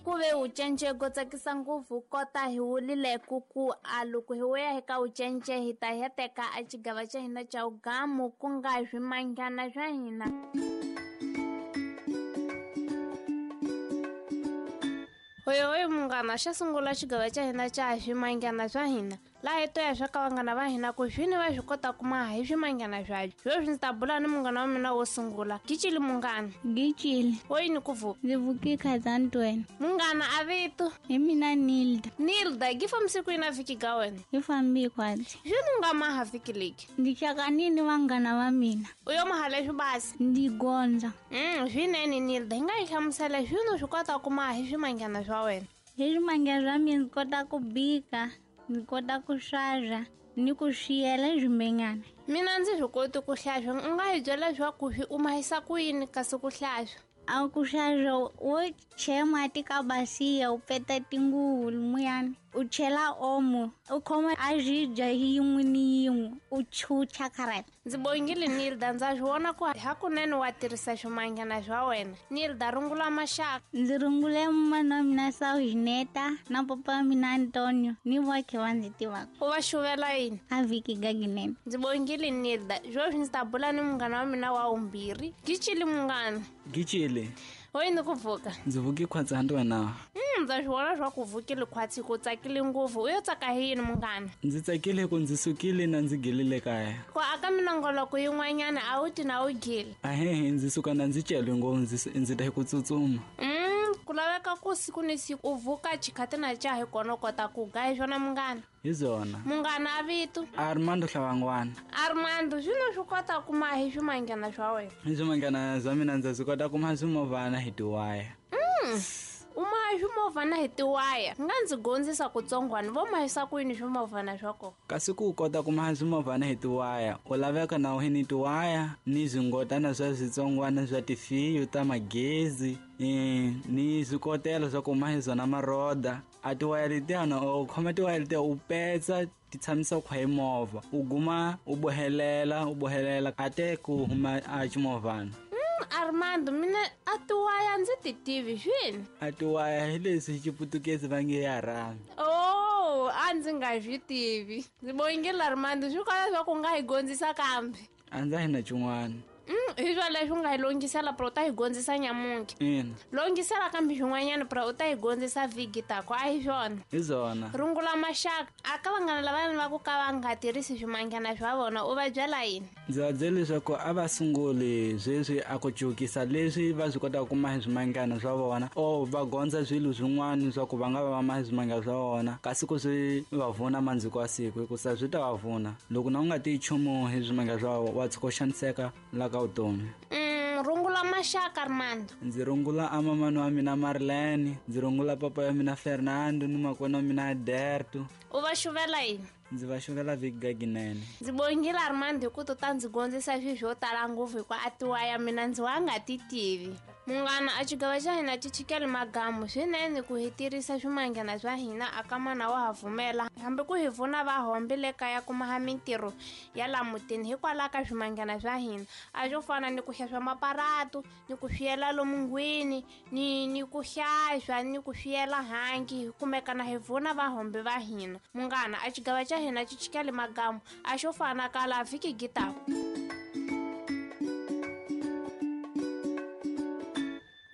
Ku ve wucence go tsakisa ngopfu kota hi wulile ku ku a loko hi wuya hi ka wucence hi ta heteka a xigava xa hina xa wugamu ku nga swimanghana swa hina. Hoyohoyo munghana, xa sungula xigava xa hina xa swimanghana swa hina laha hi to ya swa ka vanghana va hina ku swini va swi kota ku maha hi swimanghana swabyo. Sweswi ndzi ta bula ni munghana wa mina wo sungula. Gicili munghana. Gicili. Wo yini ku vuka? Ndzi vuke khazantweni. Munghana a vito? Hi mina Nilda. Nilda, gi fambise ku yini a vhiki ga wena? Hi fambi khwatsi. Swini u nga maha vhiki leki? Ndzi hlakanile vanghana va mina. U yo maha leswi basi? Ndzi gondza. Swinene Nilda, hi nga yi hlamusela swini u swi kota ku maha hi swimanghana swa wena? Hi swimanghana swa mina ndzi kota ku bika, ndzi kota ku xaxa ni ku swiyela swimenyana. Mina ndzi swi koti ku hlaxa, u nga hi byela leswaku swi u mahisa ku yini kasi ku hlaxa? A ku xaxa wo chela mati ka basiya u peta tinguvu lumuyani, u chela omo, u khoma a xibya yin'we ni yin'we u chucha kharata. Ndzi bongile Nilda, ndza swi vona ku hakunene wa tirhisa swimanghana swa wena. Nilda, rungula maxaka. Ndzi rungule mana wa mina Saugineta na papa wa mina Antonio ni voxe va ndzi tivaka. U va xuvela yini? A vhiki gaginene. Ndzi bongile Nilda, sweswi ndzi ta bula ni munghana wa mina wa vumbirhi. Gicili munghana. Gicili. Wo yini ku pfuka? Ndzi vuke khwatsi hanti wena. Ndza swi vona swa ku vukile khwatsi ku tsakile ngopfu. U yo tsaka hi yini munghana? Ndzi tsakile ku ndzi sukile na ndzi gilile kaya. Ku aka minongoloko yin'wanyana a wu ti na wu gile. Ahehe, ndzi suka na ndzi celwe ngopfu, ndzi ta hi ku tsutsuma. Ku laveka ku siku ni siku u vuka xikhati na xa hi kona u kota ku ga hi swona munghana. Hi byona. Munghana a vito? Armando Hlavangwana. Armando, swino swi kota ku maha hi swimanghana swa wena? Hi swimanghana swa mina ndza swi kota ku maha swimovhana hi tiwaya. U maha swimovhana hi tiwaya? Nga ndzi gondzisa kutsongwana, vo mahisa ku yini swimovhana swa kona? Kasi ku kota ku maha swimovhana hi tiwaya, u laveka na u ni tiwaya ni swingotana swa switsongwana swa tifiyo ta magezi, ni swikotelo swa ku maha hi swona maroda. A tiwaya letiyana u khoma tiwaya letiya u petsa ti tshamisa khwa hi movha, u guma u bohelela, u bohelela a te ku huma a ximovhana. Armando, mina a tiwaya ndzi ti tivi swini. A tiwaya hi leswi xiputukezi va nge ya rhami. Oh, a ndzi nga swi tivi. Ndzi bongile Armando, swi kona swa ku nga hi gondzisa kambe. A ndza hi na xin'wana. Hi swa leswi u nga hi longisela pra u ta hi gondzisa nyamuntlha. Ina. Longisela kambe swin'wanyana pra u ta hi gondzisa vhiki tako, a hi swona? Hi swona. Rungula maxaka, a ka vanghana lavaya va ku ka va nga tirhisi swimanghana swa vona, u va byela yini? Ndzi va byela leswaku a va sunguli sweswi a ku cukisa leswi va swi kotaka ku maha swimanghana swa vona, or va gondza swilo swin'wana swa ku va nga va va maha swimanghana swa vona, kasi ku swi va vuna mandziko ya siku, hikusa swi ta va vuna. Loko na u nga tiyi nchumu hi swimanghana swa wena, wa tshuka u xaniseka la ka vutomi. Rungula maxaka Armando. Ndzi rungula a mamani wa mina Marlene, ndzi rungula papa ya mina Fernando ni makwenu wa mina Alberto. U va xuvela yini? Ndzi va xuvela vhiki gaginene. Ndzi bongile Armando hi ku to ta ndzi gondzisa swilo swo tala ngopfu hikuva a tiwaya mina ndzi wa nga ti tivi. Munghana, a xigava xa hina xi chikele magamu swinene ku hi tirhisa swimanghana swa hina a ka mana wa ha pfumela hambi ku hi pfuna va hombe le kaya kuma ha mintirho ya la mutini hikwalaho ka swimanghana swa hina. A swo fana ni ku xaxa maparatu, ni ku swiyela lomu ngwini, ni ku xaxa, ni ku swiyela hangi, hi kumeka na hi pfuna va hombe va hina. Munghana, a xigava xa hina xi chikele magamu a xo fana ka la vhiki gitaku.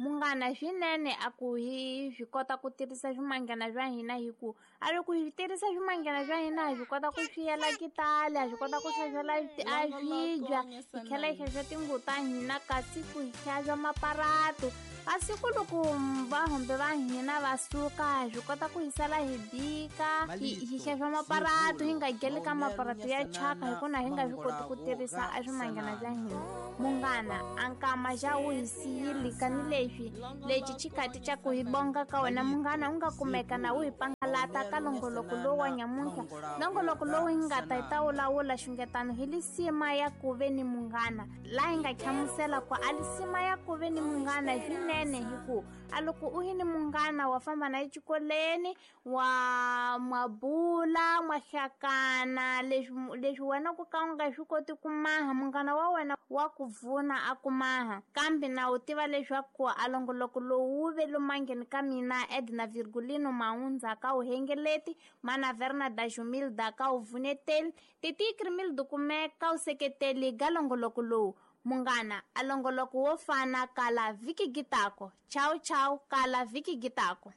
Munghana, swinene a ku hi swi kota ku tirhisa swimanghana swa hina hi ku a loko hi tirhisa swimanghana swa hina hi swi kota ku swiyela kitale, ha swi kota ku xaxela a swibya, hi tlhela hi xaxa tinguvu ta hina kasi ku hi xaxa maparatu. Kasi ku loko va hombe va hina va suka, hi swi kota ku hi sala hi bika, hi xaxa maparatu, hi nga geli ka maparatu ya thyaka hikuva hi nga swi koti ku tirhisa a swimanghana swa hina. Munghana, a nkama xa wu hi siyile kani leswi lexi xikhati xa ku hi bonga ka wena munghana u nga kumeka na wu hi pangalata ka longoloko lowu wa nyamuntlha. Longoloko lowu hi nga ta hi ta wulawula xungetano hi lisima ya ku ve ni munghana, laha hi nga hlamusela ku a lisima ya ku ve ni munghana swinene hi ku a loko u hi ni munghana wa famba na exikolweni, wa mabula, mwa hlakana, leswi wena ku ka u nga swi koti ku maha, munghana wa wena wa ku pfuna a ku maha, kambe na u tiva leswaku a longoloko Longoloko lowu wu ve lumangeni ka mina Edna Virgulino Maundza ka uhengeleti, mana Verna da Jumilda ka uvuneteli, Titi Krimil Dukume ka useketeli ga longoloko lowu. Munghana, a longoloko wo fana kala vhiki gitako. Chau chau kala vhiki gitako.